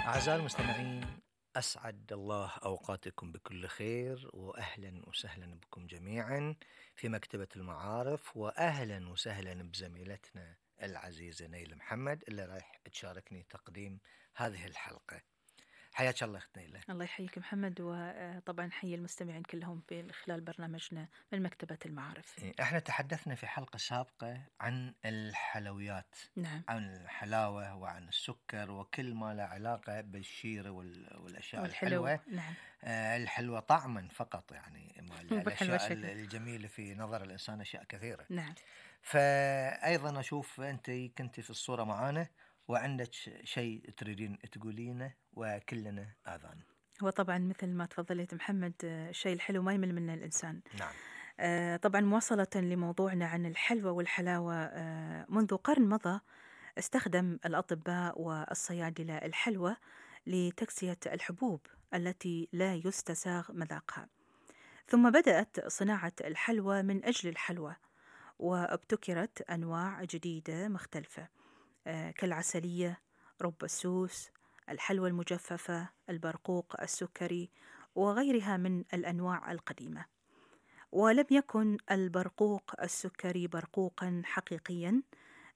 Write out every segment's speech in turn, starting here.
أعزائي المستمعين، أسعد الله أوقاتكم بكل خير، وأهلا وسهلا بكم جميعا في مكتبة المعارف، وأهلا وسهلا بزميلتنا العزيزة نيلة محمد اللي رايح تشاركني تقديم هذه الحلقة. حياك الله أخت نيلة. الله يحييك محمد، وطبعا حي المستمعين كلهم في خلال برنامجنا من مكتبة المعارف. احنا تحدثنا في حلقة سابقة عن الحلويات، نعم. عن الحلاوة وعن السكر وكل ما له علاقة بالشيرة والأشياء والحلو. الحلوة. نعم. الحلوة طعما فقط، يعني بالحلوى الأشياء شكل. الجميلة في نظر الإنسان أشياء كثيرة. نعم. فأيضا أشوف أنت كنت في الصورة معانا وعندك شيء تريدين تقولينه وكلنا آذان. هو طبعا مثل ما تفضلت محمد، الشيء الحلو ما يمل منه الإنسان. نعم. طبعا مواصلة لموضوعنا عن الحلوى والحلاوة، منذ قرن مضى استخدم الأطباء والصيادلة الحلوى لتكسية الحبوب التي لا يستساغ مذاقها، ثم بدأت صناعة الحلوى من أجل الحلوى، وابتكرت أنواع جديدة مختلفة كالعسلية، رب السوس، الحلوى المجففة، البرقوق السكري، وغيرها من الأنواع القديمة. ولم يكن البرقوق السكري برقوقا حقيقيا،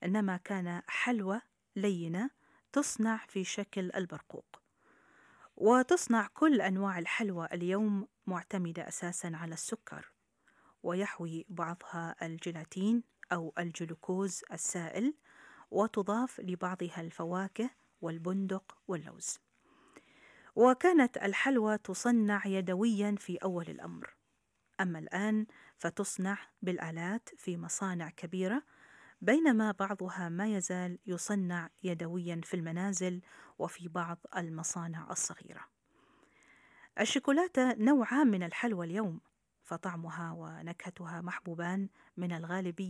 إنما كان حلوى لينة تصنع في شكل البرقوق. وتصنع كل أنواع الحلوى اليوم معتمدة أساسا على السكر، ويحوي بعضها الجيلاتين أو الجلوكوز السائل، وتضاف لبعضها الفواكه والبندق واللوز. وكانت الحلوى تصنع يدويا في أول الأمر، أما الآن فتصنع بالآلات في مصانع كبيرة، بينما بعضها ما يزال يصنع يدويا في المنازل وفي بعض المصانع الصغيرة. الشوكولاتة نوعان من الحلوى اليوم، فطعمها ونكهتها محبوبان من الغالبية